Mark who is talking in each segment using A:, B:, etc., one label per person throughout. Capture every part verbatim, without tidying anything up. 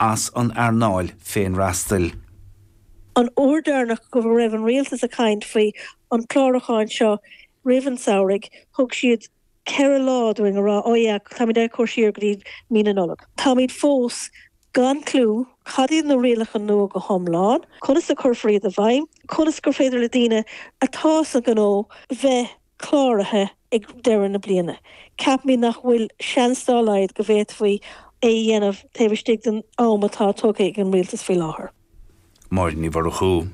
A: as an earnáil féinfhreastail.
B: An uair dheireanach go raibh an rialtas ag caint faoi an clárúchán seo roimh an samhradh, thug siad ceithre lá dúinn a rá ó yeah, táimid ag cur siar go dtí mí na Nollag. Táimid fós gan clue cad iad na rialacha nua go hiomlán, conas a chuirfear iad i bhfeidhm, conas gur féidir le daoine atá sa ghnó bheith cláraithe ag deireadh na bliana. Ceapaim nach bhfuil seans dá laghad go bhféadfaí é dhéanamh taobh istigh den am atá tugtha ag an rialtas faoi láthair.
A: Máire Ní Mhurchú.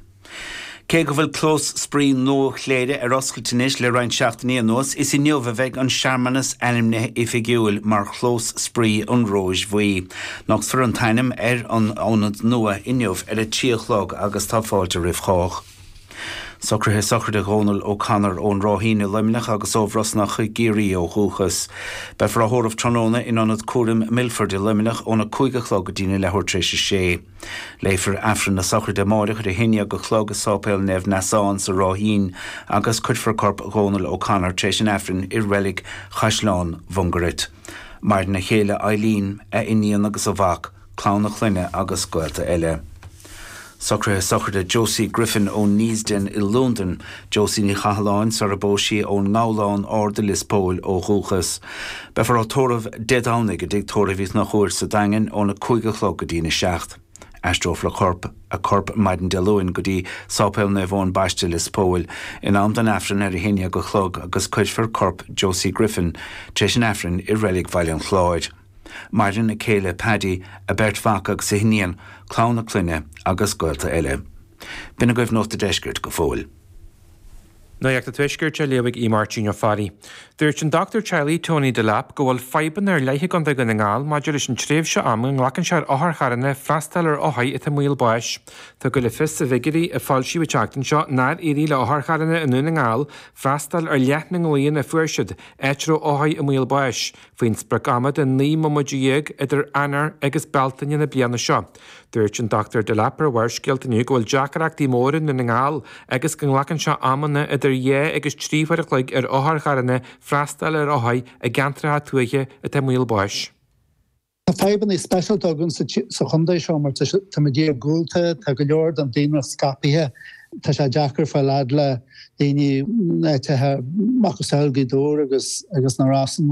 A: Cé go bhfuil clós spraoi nua Chléire ar oscailt anois le roinnt seachtainí anuas, is inniu a bheidh an searmanas ainmnithe oifigiúil mar chlós spraoi an Róis Bhuí. Nochtfar an t-ainm ar an ionad nua inniu ar a trí a chlog agus tá fáilte roimh chách. Socruithe sochraide Dhónal O'Connor ón Ráithín i Luimneach agus ó Bhrosnach i gCiarraí ó dhúchas. Beifear á thórramh tráthnóna in ionad cúraim Milford i Luimneach óna cúig a chlog go dtí leathuair tar éis a sé. Léifear Aifreann na sochraide amárach ar a haon déag a chlog i Sáipéal Naomh Neasán sa Ráithín agus cuirfear corp Dhónal O'Connor tar éis an Aifrinn i reilig Chaisleán Mhungairit. Maireann a chéile Eileen, a iníon agus a mhac, clann a clainne agus gaolta eile. Socruithe sochraide Josie Griffin ó Neasden i Londain, Josie Ní Chathalláin sar a phós sí ón nGabhlán Ard i Lios Póil ó dhúchas. Beifear á tórramh Dé Domhnaigh i dTigh Tórraimh Uí Chonchúir sa Daingean óna cúig a chlog go dtí na seacht. Aistreofar a corp a corp maidin Dé Luain go dtí Sáipéal Naomh Eoin Baiste Lios Póil in am don Aifreann ar a haon déag a chlog agus cuirfear corp Josie Griffin tar éis an Aifrinn i reilig Bhaile an Chláir. Maireann a céile Paddy a beirt mhac agus a hiníon, clann a clainne agus gaolta eile. B'in agaibh Nuacht an Deiscirt go fóill.
C: Nuacht an Tuaiscirt á léamh ag Máirtín Ó Fearraigh. Dúirt an dochtúir teaghlaigh Tony Delap go bhfuil fadhbanna ar leith i gContae Dhún na nGall maidir leis an tréimhse ama a nglacann sé ar otharcharranna freastal ar othair atá i mbaol báis. Tugadh le fios i bhfigiúirí a foilsíodh an tseachtain seo nár éirigh le otharcharranna i nDún na nGall freastal ar leath na nglaonna a fuair siad áit a raibh othair i mbaol báis, faoin sprioc ama de naoi mbomaite dhéag idir Eanáir agus Bealtaine na bliana seo. Dúirt an Dr Delap ar Bharrscéalta inniu go bhfuil deacrachtaí móra i nDún na nGall agus go nglacann sé amanna idir dhá agus trí huair a chloig ar otharcharranna freastal ar othair i gceantracha tuaithe atá i mbaol báis.
D: Tá fadhbanna speisialta againn sa chontae seo mar táimid iargúlta, tá go leor den daonra scaipthe, tá sé deacair fáil fhad le daoine áitithe macasamhail Ghaoth Dobhair agus agus na Rosann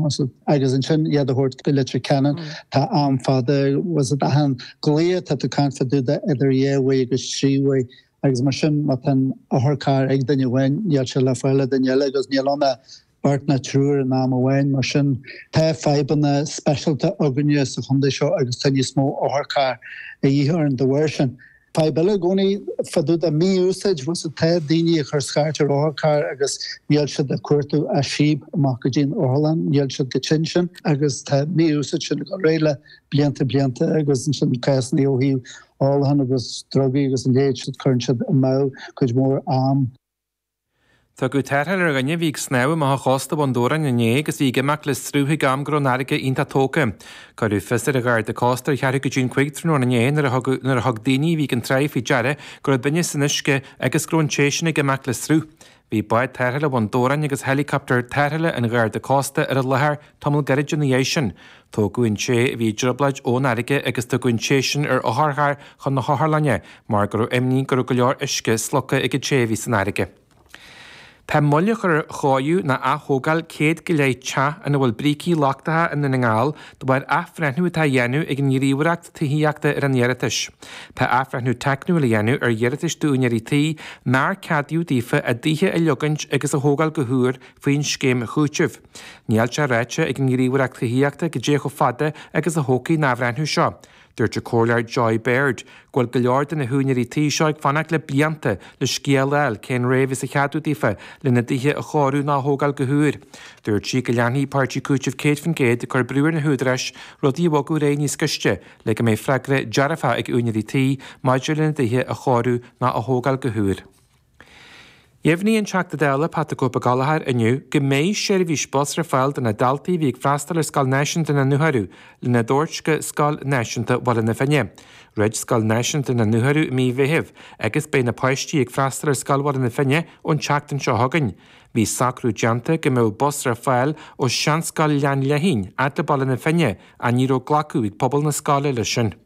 D: agus ansin iad a thabhairt go Leitir Ceanainn tá am fada was it achan glao tá tú ag caint fá dtaobh de idir dhá uair agus trí uair agus mar sin má tá an otharcharr ag duine amháin níl sé le fáil ag duine eile agus níl ann ach beirt nó triúr in am amháin mar sin tá fadhbanna speisialta againne sa chontae seo agus tá níos mó otharcharr a dhíth orainn dá bharr sin. Fadhb eile i gcónaí fá dtaobh de mí-úsáid was tá daoine ag cur scairt ar otharcharr agus níl siad ag cuartú as síob amach go dtí an otharlann, níl siad chomh tinn sin agus tá mí-úsáid sin ag dul ar aghaidh le blianta blianta agus ansin cásanna ó thaobh ólacháin agus drugaí agus a leithéid cuireann siad amú cuid mhór am.
C: Tugadh tarrtháil ar dhuine a bhí ag snámh amach ó chósta Bhun Dobhráin inné agus bhí ag imeacht le sruth ag am go raibh an fharraige iontach tógtha. Cuireadh fios ar an Gharda Cósta ar cheathrú go dtí an cúig tráthnóna inné nuair a thug nuair a thug daoine a bhí ag an tráigh faoi deara go raibh duine san uisce agus go raibh an té sin ag imeacht le sruth. Bhí bád tarrthála Bhun Dobhráin agus helicopter tarrthála an Gharda Cósta ar an láthair tamall gairid ina dhiaidh sin. Tógadh an té a bhí i dtrioblóid ón fharraige agus tugadh an té sin ar otharcharr chun na hotharlainne mar go raibh imní go raibh go leor uisce slogtha ag an té a bhí san fharraige. Tá moill á chur ar chóiriú nó athógáil céad go leith teach ina bhfuil brící lochtacha i nDún na nGall de bharr athbhreithniú atá á dhéanamh ag an nGníomhaireacht Tithíochta ar an iarratais. Tá athbhreithniú teicniúil á dhéanamh ar iarratais d'úinéirí tí nár ceadaíodh daofa a dtithe a leogaint agus a thógáil go húr faoin scéim chúitimh. Níl sé ráite ag an nGníomhaireacht Tithíochta goidé chomh fada agus a thógfaidh an athbhreithniú seo. Dúirt an comhairleoir Joy Baird go bhfuil go leor de na húinéirí tí seo ag fanacht le blianta le scéal a fháil cén ré a bheas á cheadú daofa lena dtithe a chóiriú nó a thógáil go húr. Dúirt sí go leanfaidh Páirtí Cúitimh céad faoin gcéad ag cur brú ar na húdaráis rudaí a bhogadh ar aghaidh níos gaiste le go mbeidh freagra dearfach ag úinéirí tí maidir lena dtithe a chóiriú nó a thógáil go húr. Dheimhnigh an Teachta Dála Pat the Cope Gallagher inniu go mbeidh seirbhís bus ar fáil do na daltaí a bhí ag freastal ar Scoil Náisiúnta na nDúchoradh lena dtabhairt go Scoil Náisiúnta Bhaile na Finne. Dhruid Scoil Náisiúnta na nDúchoradh i mí Mheithimh agus beidh na páistí ag freastal ar Scoil Bhaile na Finne ón tseachtain seo chugainn. Bhí socrú déanta go mbeadh bus ar fáil ó Seanscoil Ghleann Léithín fhad le Baile na Finne ach ní raibh glacadh ag pobal na scoile leis sin.